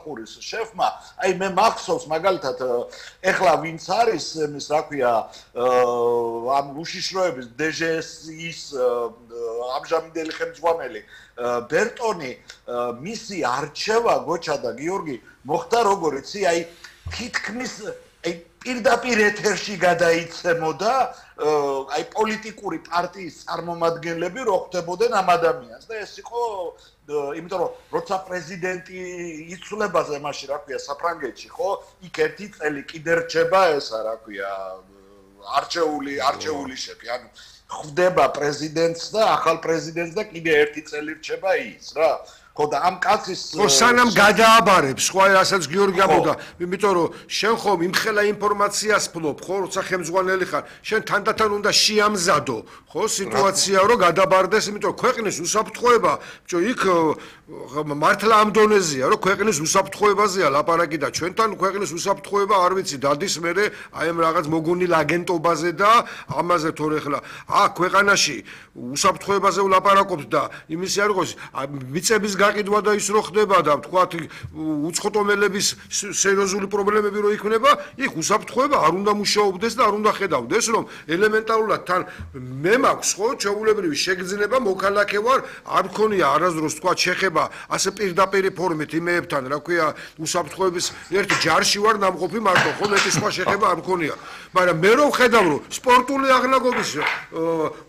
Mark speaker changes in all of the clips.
Speaker 1: ხურის შეფმა, აი მე მახსოვს მაგალითად ეხლა ვინც არის ეს რა ქვია ამ უშიშროების DGS-ის ამჟამინდელი ხელმძღვანელი ბერტონი მისი არჩევა გოჩა და გიორგი მოხდა როგორ იცი აი თითქმის აი პირდაპირ ეთერში გადაიცემოდა აი პოლიტიკური პარტიის წარმომადგენლები რო ხვდებოდნენ ამ ადამიანს და ეს იყო იმიტომ რომ როცა პრეზიდენტი იცვლებაზე მაშინ რა ქვია საფრანგეთში ხო იქ ერთი წელი კიდე რჩება ესა რა ქვია არჩეული შეფი ანუ ხვდება პრეზიდენტს და ახალ პრეზიდენტს და კიდე ერთი წელი რჩება ის რა ხო და ამ კაცის
Speaker 2: ხო სანამ გადააბარებს ხო რასაც გიორგი ამბობდა იმიტომ რომ შენ ხომ იმხელა ინფორმაციას ფლობ ხო როცა ხელმძღვანელი ხარ შენ თანდათან უნდა შეამზადო ხო სიტუაცია რომ გადაბარდეს იმიტომ რომ ქვეყნის უსაფრთხოება ბჭო იქ მართლა ამ დონეზეა რომ ქვეყნის უსაფრთხოებაზეა ლაპარაკი და ჩვენთან ქვეყნის უსაფრთხოება არ ვიცი დადის მერე აი ამ რაღაც მოგონილ აგენტობაზე და ამაზე თორე ხლა ქვეყანაში უსაფრთხოებაზე ვლაპარაკობთ და იმისი არ იყოს მიწების გაყიდვა და ის რო ხდება და თქვათ უცხოტომელების სერიოზული პრობლემები რო იქნება იქ უსაფრთხოება არ უნდა მუშაობდეს და არ უნდა ხედავდეს რომ ელემენტარულად თან მე მაქვს ხო ჩვეულებრივი შეგრძნება მოქალაქე ვარ არ მქონია არასდროს თქვათ შეხება ასე პირდაპირ ფორმით იმეებთან რა ქვია უსაფრთხოების ერთ ჯარში ვარ ნამყოფი მარტო ხო მეტი სხვა შეხება არ მქონია მაგრამ მე რო ვხედავ რომ სპორტული აღნაგობის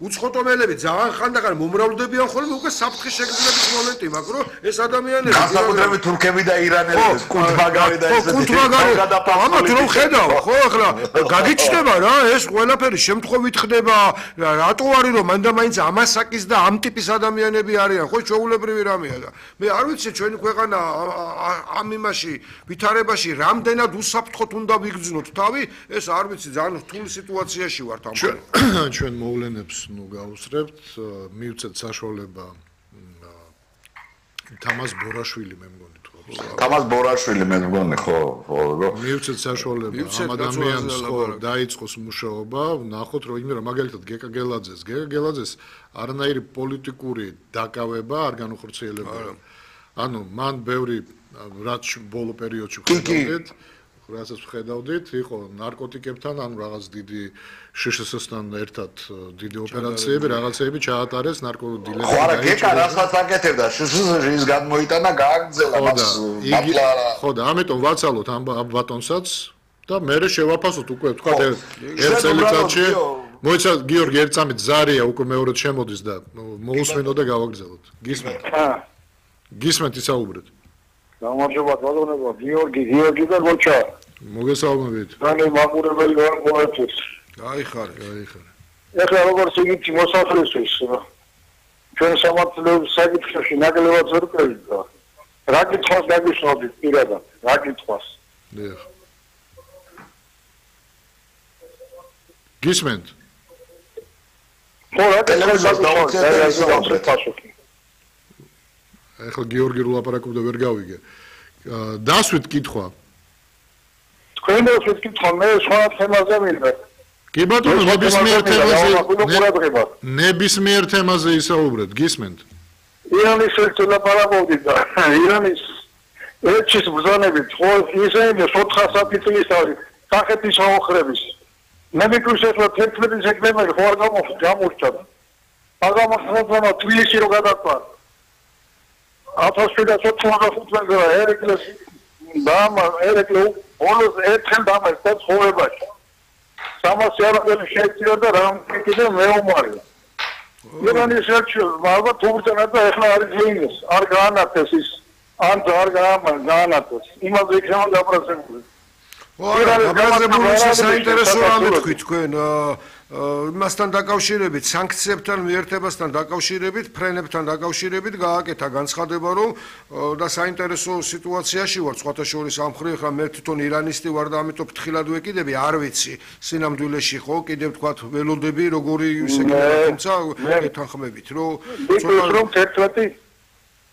Speaker 2: უცხოტომელები ძალიან ხანდახან მომრავლდებიან ხოლმე უკვე საფრთხის შეგრძნების მომენტი მაქვს რომ ეს ადამიანები
Speaker 1: განსაკუთრებით თურქები და ირანელები კუნთბაგარი და ესეთი
Speaker 2: ამათ რომ ხედავ ხო ახლა გაგიჩნდება რა ეს ყველაფერი შემთხვევით ხდება რატო არის რომ მანდ-მაინც ამასაკის და ამ ტიპის ადამიანები არიან ხო ჩვეულებრივი რამეა და მე არ ვიცი ჩვენი ქვეყანა ამ იმაში ვითარებაში რამდენად უსაფრთხოდ უნდა ვიგრძნოთ თავი ეს არ ვიცი ძალიან რთული სიტუაციაში ვართ ამ
Speaker 3: ჩვენ მოვლენებს ნუ გავუსწრებთ მივცეთ საშუალება თამაზ ბორაშვილი მე მგონი თუ
Speaker 1: თამაზ ბორაშვილი მე მგონი ხო
Speaker 3: მივცეთ საშუალება ამ ადამიანს ხო დაიწყოს მუშაობა ნახოთ რომ იმერა მაგალითად გეკა გელაძეს არანაირი პოლიტიკური დაკავება არ განუხორციელებია ანუ მან ბევრი რაც ბოლო პერიოდში რასაც ხედავდით იყო ნარკოტიკებთან ანუ რაღაც დიდი შშს-თან ერთად დიდი ოპერაციები რაღაცეები ჩაატარეს ნარკოდილერები
Speaker 1: ხო არა გეკა რასაც აკეთებდა შშს-ის გამოიტანა გააგრძელა მას
Speaker 3: ხო და ამიტომ ვაცალოთ ამ ბატონსაც და მე შევაფასოთ უკვე თქვა ერთ წელიწადში მოიცა გიორგი ერთ წამით ზარია უკვე მეორედ შემოდის და მოусვენო და გავაგრძელოთ გისმენთ ისაუბრეთ
Speaker 4: გამარჯობა ბატონებო გიორგი და გოჩა
Speaker 3: მოგესალმებით
Speaker 4: რამე მაყურებელი ვარ ყოველთვის
Speaker 2: გაიხარე
Speaker 4: ეხლა როგორც იგივე მოსახლისთვის ჩვენ სამართლეობის საკითხებში ნაკლებად ვერ ყვევით რა კითხვას გაგიშნოდით პირადად რა კითხვას
Speaker 3: დიახ გისმენთ
Speaker 4: ხო რა კითხვას
Speaker 3: ეხლა გიორგი რო ლაპარაკობდა ვერ გავიგე დასვით კითხვა
Speaker 4: თქვენ დასვით კითხვა მე სხვა თემაზე მინდა
Speaker 3: კი ბატონო ნებისმიერ თემაზე ისაუბრეთ გისმენთ
Speaker 4: ირანის ერთ ლაპარაკობდით და ირანის ერთის ბრძანებით ხო ისინი 4 საფრთხის არის კახეთის აოხრების მე მეკრუს ეხლა 11 სექტემბერი ხო არ გამორჩა აგამ ახლა თბილისში რო გადაწყდა 1795 წელს ერეკლეს ერეკლე όλოს ერთხელ დამარცხდა ცხოვრებაში 300 არაფერი შეეცია და რამ კიდე მეომარი ირანის ერთ ალბათ თურქეთთან და ეხლა არის ლინეს არ გაანათეს ის ან არ გაანათეს იმაზე იქნება დაპროცებული
Speaker 2: გაზრდილი საინტერესო რამე თქვი თქვენ იმასთან დაკავშირებით სანქციებთან მიერთებასთან დაკავშირებით ფრენებთან დაკავშირებით გააკეთა განცხადება რომ და საინტერესო სიტუაციაში ვარ სხვათა შორის ამ ხრივ ხა მე თვითონ ირანისტი ვარ და ამიტომ ფრთხილად ვეკიდები არ ვიცი სინამდვილეში ხო კიდევ თქვა ველოდები როგორი ისეგება თუმცა ეთანხმებით რომ
Speaker 4: 11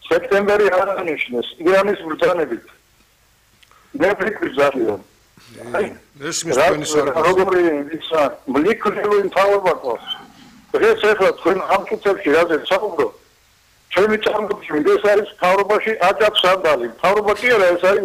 Speaker 4: სექტემბერი არ აღნიშნეს ირანის ბრძანებით მე ფიქრი ზარიო
Speaker 2: ეს მის თქვენი სარკაზმი
Speaker 4: როგორი ისა მლიქრული თავობა ყავს დღეს ახლა თქვენ ამ კითხვებში რაზეც საუბრობთ ჩვენი წარმოდგენით ეს არის თავობაში აჯაც სანდალი თავობა კი არა ეს არის